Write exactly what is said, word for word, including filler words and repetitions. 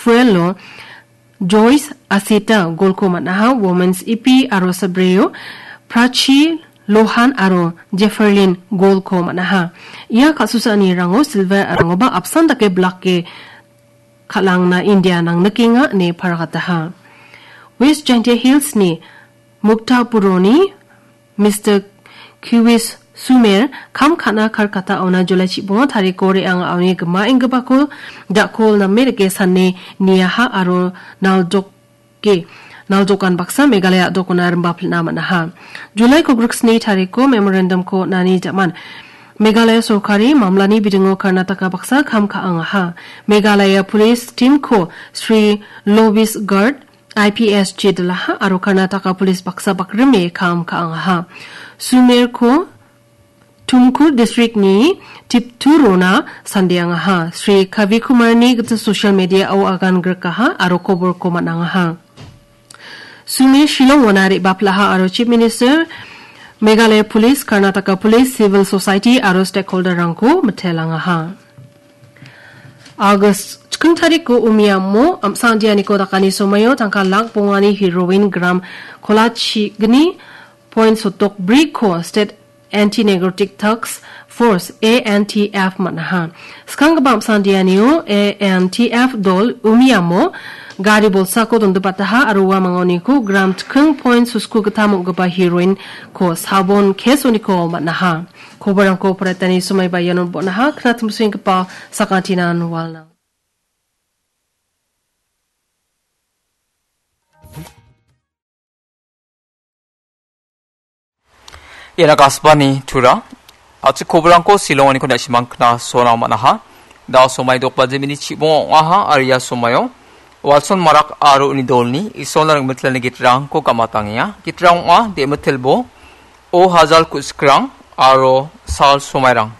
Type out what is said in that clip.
Puelo Joyce Asita golko man·aha, Women's Ipi aro Sabreo Prachi Lohan aro Jefferlin golko man·aha. Ia ka·susaanirango silver arangoba apsan dake blake kal·angna India nangnikenga ine paragataha. West Jaintia Hills-ni Muktapuroni Mister Kiwis Sumer kam ka·na Kolkata-ona July chibongo tariko re·anga aoni gimaenggipako dakol name rike sane niaha aro naldoke, naldokan baksa Meghalaya a·dokona rimba pil·na man·aha. July kogriksni tariko memorandum-ko on·ani jaman Meghalaya sorkari mamlani bidingo Karnataka baksa kam ka·angaha. Meghalaya Police Team-ko Sri Lovis Garg, I P S, jedilaha aro Karnataka Police baksa bakrime kam ka·angaha. Sumerko Tumkur District-ni Tipturona sandeangaha. Sri Kavi Kumarni gita social media-o agan grikaha aro koborko man·angaha. Sumer Shillong-ona re·baplaha aro Chief Minister, Meghalaya Police, Karnataka Police, Civil Society aro stakeholder-rangko mitelangaha. August chiking tariko umiamo amsa andianiko dakani somoio tangka lak bongani heroin gram kolachigni point sotok briko State Anti-Narcotic Task Force, A N T F, man·aha. Skanggipa amsa andianio A N T F dol umiamo gari bolsako dondipataha aro ua mangaoniko gram chiking point sosku gittam ong·gipa heroin-ko sabon case-oniko man·aha. Koborangko poraitani somaiba iano bon·aha, knatimsenggipa sakantinan walna. Iana Kasbani Tura, a·chik koborangko silonganiko na·simang kna sona man·aha. Da somai dok baje mini chibongo ong·aha, aro ia somaio Walson Marak aro uni dolni Isolna ringmitelni gitrangko gamatangenga. Gitrang ong·a, de·mitelbo, O Hajal Kusikrang aro Sal Somairang.